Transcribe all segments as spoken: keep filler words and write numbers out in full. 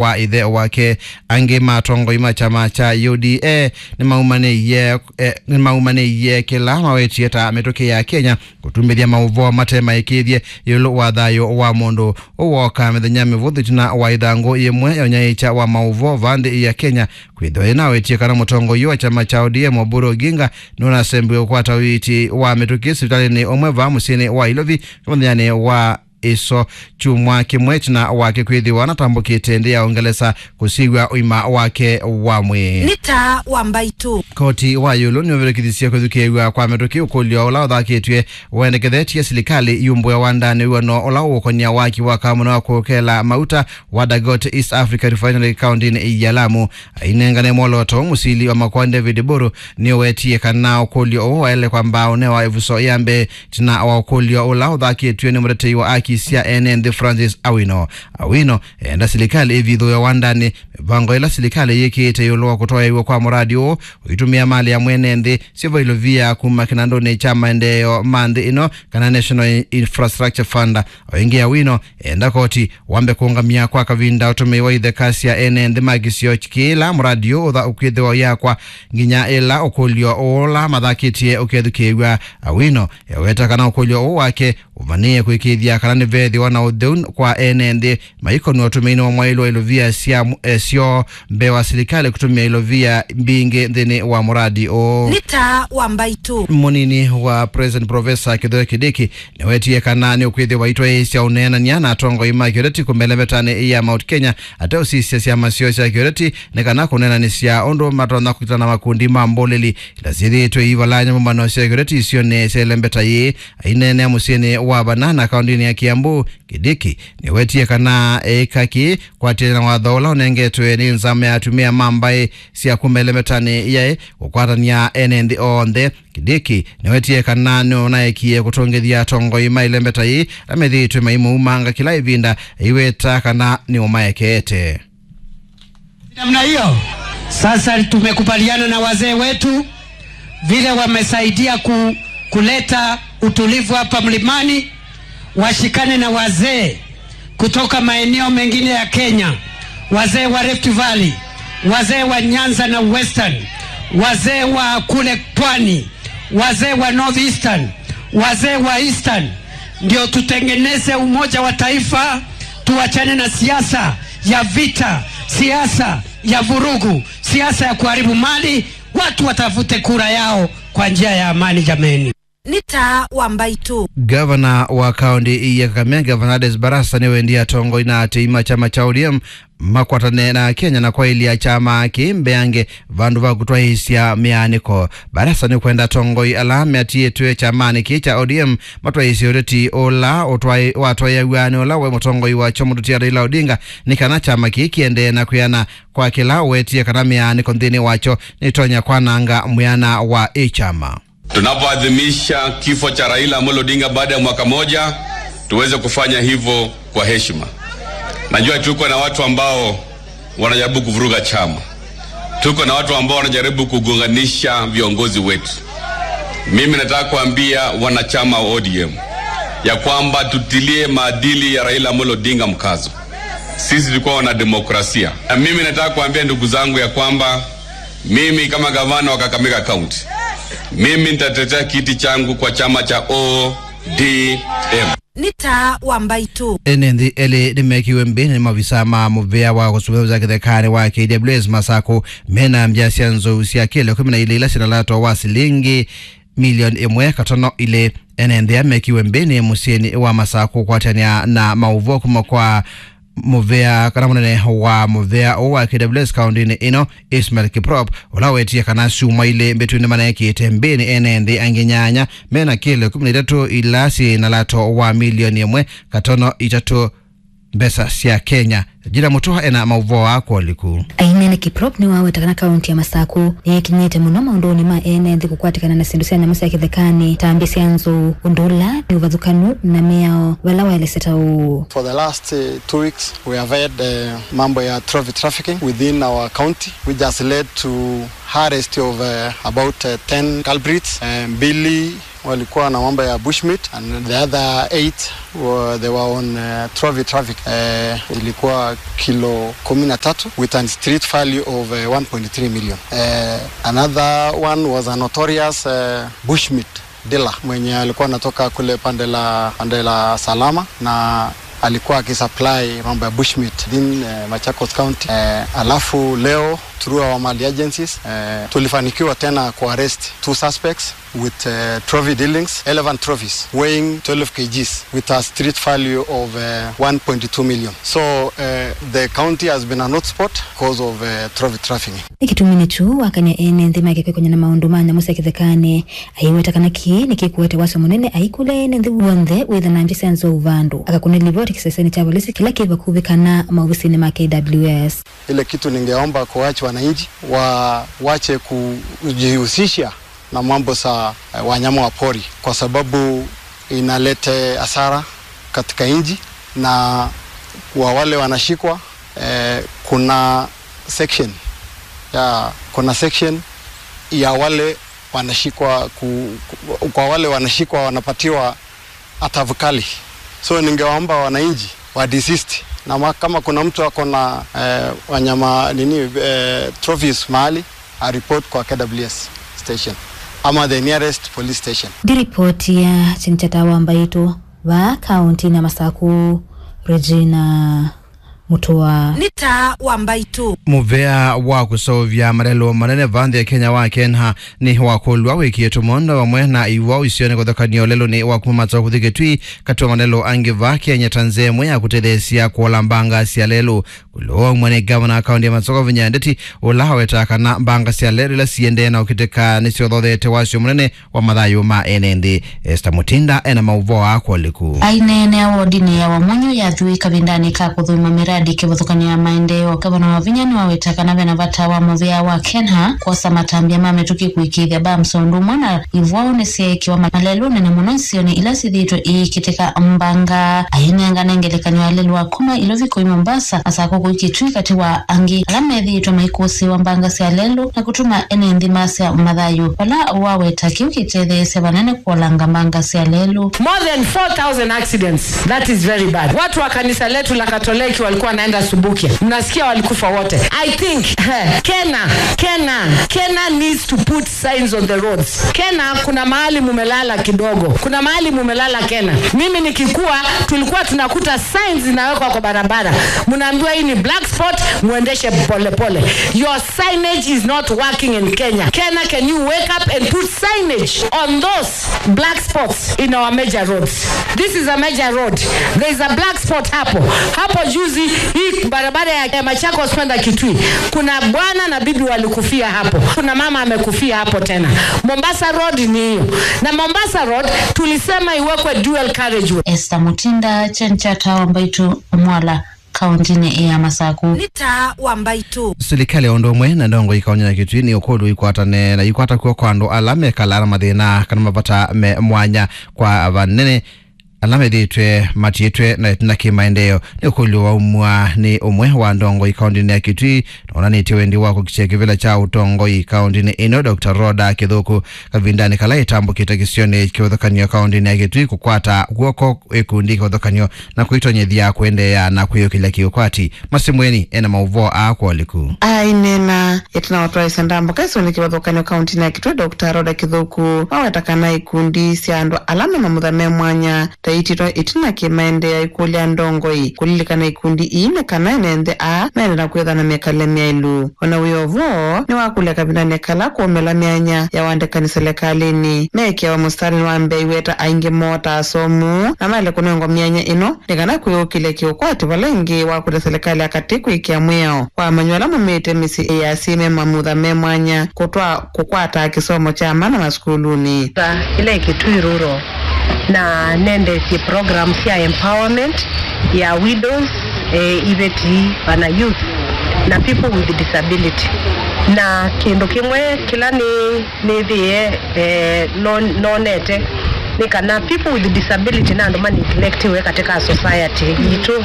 wa ĩthe wake. Angĩ ma atongoi ma kyama kya U D A nĩmaumanĩie, eh, nĩmaumanĩie kĩla mawetie ta mĩtũkĩ ya Kenya kũtumĩthya maũvoo mate maĩkĩĩthye ĩũlũ wa thayũ wa mũndũ. Ũũ wooka mĩthenya mĩvũthũ ĩtina wa ĩthangũ yĩmwe ya ũnyaĩĩkya wa maũvoo vaa nthĩ ya Kenya kwĩthĩwa yĩnawetie kana mũtongoi wa kyama kya O D M Oburu Oginga nũnasembiwe kũkwata ũiiti wa mĩtũkĩ sivitalĩnĩ ũmwe vaa mũsyĩnĩ wa Ilovi mũthenyanĩ wa ĩso kyumwa kĩmwe ĩtina wake kwĩthĩwa anatambũkĩte nthĩ ya Ũngelesa kũsiw'a ũima wake wa mwĩĩ. Nĩ taa wa mbaitũ. Koti wa ĩũlũ nĩũvĩtũkĩthisye kwĩthukĩĩw'a kwa mĩtũkĩ ũkũlyo ũla ũthakĩtw'e wendekethetye silikalĩ yumbũe wandanĩ wĩw'ano ũla ũũkonia waki wa kamũna wa kũkela mauta wa Dangote East Africa Refinery kaũntĩnĩ ya Lamu. Ainengane mwolooto ũũ, mũsili wa makoa David Oburu nĩũwetie kana ũkũlyo ũũ waĩle kwamba ũnewa ĩvuso ya mbee ĩtina wa ũkũlyo ũla ũthakĩtw'e nĩ mũtetei wa aki sya ene nthĩ Francis Awino. Awino eenda silikalĩ ĩvithũe wandanĩ mĩvango ĩla silikalĩ yĩkĩĩte ĩũlũ wa kũtwaĩw'a kwa mũradi ũũ ũitũmĩa malĩ ya mwene nthĩ syĩvo ilovia kuma kĩnandũnĩ kya maendeeo ma nthĩ ĩno kana National Infrastructure Fund. O ĩngĩ, Awino eenda koti wambe kũũngamya kwa kavinda ũtũmĩi wa itheka sya ene nthĩ ma kĩsio kĩla mũradi ũũ ũtha ũkwĩthĩwa ũyakwa nginya ĩla ũkũlyo ũla mathakĩtye ũkethukĩĩw'a. Awino eweta kana ũkũlyo ũũ wake ũvanĩĩe kũĩkĩĩthya kana nĩveethĩwa na ũtheu kwa ene nthĩ maikonw'a ũtũmĩinĩ wa mwaĩlu wa ilovia sya mu-, eh, syoo mbee wa silikalĩ kũtũmĩa ilovia mbingĩ nthĩnĩ wa mũradi ũũ. Nĩ taa wa mbaitũ. Mũnini wa President Professor Kithure Kindiki nĩwetie kana nĩũkwĩthĩwa aitwaĩĩsya ũneenany'a na atongoi ma kĩũteti kũmelemetanĩ ya Mount Kenya ateũsisya syama syoo sya kĩũteti nĩ kana kũneenanĩsya ũndũ matonya kũkitana na makundi ma mbũlĩli ila syĩthĩĩtwe iivalany'a mbũmbano sya kĩũteti isionĩ sya ĩlembeta yĩĩ. Aineenea mũsyĩnĩ wa Banana kaũntĩnĩ ya Kiambu, Kindiki nĩwetie kana eĩka kĩĩ kwatĩanĩa na watho ũla ũnengetwe nĩ nzama ya atumĩa ma mbaĩ sya kuma ĩlembetanĩ yaĩ kũkwatany'a ene nthĩ onthe. Kindiki nĩwetie kana nũnaekie kũtũngĩthya atongoi ma ĩlembeta yĩĩ ala methĩĩtwe maimũumanga kĩla ĩvinda, aiweta kana nĩũmaekeete. Namna hiyo, sasa tumekubaliana na wazee wetu vile wamesaidia ku-, kuleta utulivu hapa mlimani, washikane na wazee kutoka maeneo mengine ya Kenya, wazee wa Rift Valley, wazee wa Nyanza na Western, wazee wa kule Pwani, wazee wa North Eastern, wazee wa Eastern, ndio tutengeneze umoja wa taifa, tuachane na siasa ya vita, siasa ya vurugu, siasa ya kuharibu mali. Watu watafute kura yao kwa njia ya amani, jameni. Nĩ taa wa mbaitũ. Gavana wa kaũntĩ ya Kakamega, Fernandes Barasa, nĩwendie atongoi na atei ma kyama kya O D M makwatane na Kenya na kwaĩlya kyama kĩĩ mbeange vandũ va kũtwaĩĩsya mĩaanĩko. Barasa nĩkwenda atongoi ala meatiĩtwe kyamanĩ kĩĩ kya O D M matwaĩĩsye ũteti ũla ũtwaĩ-, watwaĩaw'a nĩ ũla waĩ mũtongoi wakyo mũtũtia Raila Odinga, nĩ kana kyama kĩĩ kĩendee na kwĩana kwa kĩla ũwetie kana mĩaanĩko nthĩnĩ wakyo nĩtonya kwananga mwĩana wa ĩ kyama. Tunapoadhimisha kifo cha Raila Amolo Odinga baada ya mwaka moja, tuweze kufanya hivyo kwa heshima. Najua tuko na watu ambao wanajaribu kuvuruga chama. Tuko na watu ambao wanajaribu kugonganisha viongozi wetu. Mimi nataka kuambia wanachama wa O D M ya kwamba tutilie maadili ya Raila Amolo Odinga mkazo. Sisi tulikuwa wana demokrasia. Na mimi nataka kuambia ndugu zangu ya kwamba mimi kama gavana wa Kakamega County, mimi nitatetea kiti changu kwa chama cha O D M. Nĩ taa wa mbaitũ. Ene nthĩ elĩ nĩmekiwe mbĩnĩ nĩ mavisaa ma mũvĩa wa kũsũvĩsya kĩthekanĩ wa K W S Masakũ mena mbya sya nzou sya kĩlo kũmi na ilĩ ila syĩna lato wa silingi milioni ĩmwe katono ilĩ. Ene nthĩ aa mekiwe mbĩnĩ mũsyĩnĩ wa Masakũ kũkwatany'a na maũvoo kuma kwa mũvĩa kana mũnene wa mũvĩa ũũ wa K W S kaũndĩnĩ ĩno, Ismail Kiprop, ũla wetie kana syumwa ilĩ mbĩtu nĩmaneekĩte mbĩnĩ ene nthĩ angĩ nyanya mena kĩlo kũmi na itatũ ila syĩ na lato wa milioni ĩmwe katono itatũ mbesa sya Kenya. Jira Mutua ena maũvoo aa kwa ũliku. Ainene Kiprop nĩwaweta kana kaũntĩ ya Masakũ nĩyĩkinyĩte mũno maũndũnĩ ma ene nthĩ kũkwatĩkana na syĩndũ sya nyamũ sya kĩthekanĩ ta mbya sya nzou, ũndũ ũla nĩ ũvathũkanu na mĩao vala waelesya ta ũũ. For the last, uh, two weeks, we have had, uh, mambo ya trophy trafficking within our county, which has led to arrest of, uh, about, uh, ten culprits, uh, mbili walikuwa na mambo ya bushmeat, and the other eight were, they were on uh, trophy traffic. Uh, ilikuwa kilo kumi na tatu with a street value of uh, one point three million. Uh, another one was a notorious uh, bushmeat dealer mwenye alikuwa anatoka kule pande la pande la Salama, na alikuwa akisupply mambo ya bushmeat in uh, Machakos County. Uh, alafu leo through our mali agencies uh, tulifanikiwa tena kuarrest two suspects with uh, trophy dealings, eleven trophies weighing twelve kilograms with a street value of uh, one point two million. So uh, the county has been an hotspot because of uh, trophy trafficking. Nĩ kĩtumi nĩkyo wakany'a ene nthĩ make kwĩkony'a na maũndũ ma nyamũ sya kĩthekanĩ. Aiweta kana kĩĩ nĩkĩkũete wasyo mũnene aikũlya ene nthĩ w'onthe wĩtha na ngya sya nzou vandũ. Akakũnĩa livoti kĩsesenĩ kya volisi kĩla kĩ vakuvĩ kana maovisinĩ ma K W S. Ile kitu ningeomba kuacha wananchi wa wache kujihusisha na mambo za eh, wanyama wa pori, kwa sababu inalete hasara katika nchi, na kwa wale wanashikwa eh, kuna section ya kuna section ya wale wanashikwa ku, ku, kwa wale wanashikwa wanapatiwa adhabu kali. So ningewaomba wananchi wa desist na ma, kama kuna mtu ako na eh, wanyama nini eh, trophies mahali, a report kwa K W S station ama the nearest police station. Ndi ripoti ya Chinchata wa Mbaitũ vaa kaunti na Masaku, Regina Mutua. Nĩ taa wa Mbaitũ. Mũvea wa kũseũvya malelũ manene va nthĩ ya Kenya wa Kenha nĩ wakũlw'a wĩkie tũmondo vamwe na iwau isionĩ kũthokany'a ũlelũnĩ wa kuma Masaku kũthi Kitui, katĩ wa malelũ angĩ va Kenya ta nzĩa ĩmwe ya kũtetheesya kũola mbanga sya lelũ. Kũlũmwa nĩ ngavana wa kaunti ya Masaku Wavinya Ndeti, ũla awetaa kana mbanga sya lelũ ila siendee na ũkitĩka nĩsyothothete wasyo mũnene wa mathayũ ma ene nthĩ. Esther Mutinda ena maũvoo aa kwolĩku. Aineenea wodinĩ ya Wamunyu ya Thui kavindanĩ ka kũthũima miradi kĩvathũkany'o ya maendeeo, Gavana Wavinya nĩwaweta kana vena vata wa mũvea wa Kenha kwosa matambya ma mĩtũkĩ kũĩkĩĩthya bumps o ũndũ ũmwe na ivwaũ nĩsyeekĩwa ma-, malelũnĩ, na mũno isionĩ ila syĩthĩĩtwe iikitĩka mbanga. Ainengane ngelekany'o ya lelũ wa kuma Ilovi kũi Mombasa, Masaku kũi Kitui, katĩ wa angĩ ala methĩĩtwe maikũsĩĩwa mbanga sya lelũ na kũtuma ene nthĩ masya mathayũ, vala waweta kĩu kĩtetheesya vanene kũolanga mbanga sya lelũ. More than four thousand accidents. That is very bad. Watu wa kanisa letu la Katoliki walikuwa wanaenda Subukia. Mnasikia walikufa wote. I think, eh, Kena, Kena, Kena needs to put signs on the roads. Kena, kuna mahali mumelala kidogo. Kuna mahali mumelala Kena. Mimi nikikua, tulikuwa tunakuta signs zinawekwa kwa barabara. Mnaambiwa hii ni black spot, muendeshe polepole. Your signage is not working in Kenya. Kena, can you wake up and put signage on those black spots in our major roads? This is a major road. There is a black spot hapo. Hapo juzi, hii barabara ya, ya Machakos kwenda Kitui, kuna bwana na bibi walikufia hapo. Kuna mama amekufia hapo tena. Mombasa Road ni hiyo. Na Mombasa Road tulisema iwekwe dual carriageway. Esther Mutinda, Chenchata wa Mbaitũ, Mwala, kauntinĩ ya Masaku. Nĩ taa wa Mbaitũ. Silikalĩ o ũndũ ũmwe na ndongoi kauntinĩ ya Kitui nĩ ũkũlw'a ikwatane na ikwata kw'oko andũ ala mekalaa na mathĩna kana mavata me mwanya kwa vanene ala methĩĩtwe matiĩtwe na ĩtina kĩ maendeeo. Nĩ ũkũlyo waumw'a nĩ ũmwe wa ndongoi kauntinĩ ya Kitui na wonanĩtye wendi wa kũkitĩa kĩvĩla kya ũtongoi kauntinĩ ĩno, Doctor Rhoda Kĩthũku, kavindanĩ kala ĩtambũkĩte kĩsionĩ kĩvathũkany'o kauntinĩ ya Kitui kũkwata kw'oko ĩkundi kĩvathũkany'o na kũitonyethya kũendeea na kwĩyũkĩlya kĩũkwati. Masimweni ena maũvoo aa kwolĩku. Aineena ĩtina wa ũtwaĩsya ndambũka ĩsionĩ kĩvathũkany'o kauntinĩ ya Kitui, Doctor Rhoda Kĩthũku, waweta kana ikundi sya andũ ala me mamutha me mwanya ta ititwa ĩtina kĩmaendeea ikũlya ndongoi kũlilikana ikundi ii nĩ kana ene nthĩ aa mende na kwĩthwa na mĩkalĩle myaĩlu. O na wĩ o vo, nĩwakũlya kavindanĩ kala kũũmĩla myanya ya ũandĩkani silikalĩnĩ meekĩawa mũsitalĩnĩ wa mbee, aiweta aingĩ moo ta asomu na maĩle kũnengwa myanya ĩno nĩ kana kwĩyũkĩlya kĩũkwati vala ĩngĩ wakũlya silikalĩ ya katĩ kwĩkĩa mwĩao wa amanyĩw'a ala maumĩte mĩsyĩ ya asyai me mamutha me mwanya kũtwaa kũkwataa kĩsomo kya mana masukulunĩ. Sa ĩla ĩ Kitui Rural na nendeesye program sya empowerment ya widows, eh, iveti, kana youth na people with disability. Na kĩndũ kĩmwe kĩla nĩ nĩthĩe eh, no- nonete nĩ kana people with disability na andũ ma neglectiwe katika society yitũ.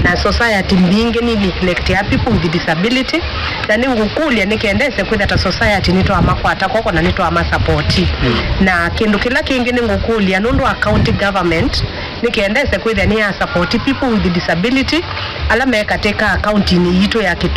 Na society mbingĩ nĩ neglectia people with disability, na nĩngũkũlya nĩ kenda ese kwĩtha ta society nĩtwamakwata kw'oko na nĩtwamasapoti. Na kĩndũ kĩla kĩngĩ nĩngũkũlya nũndũ wa county government nĩ kenda ese kwĩthĩa nĩ ya support people with disability ala me katĩ ka kauntinĩ yitũ ya Kitui.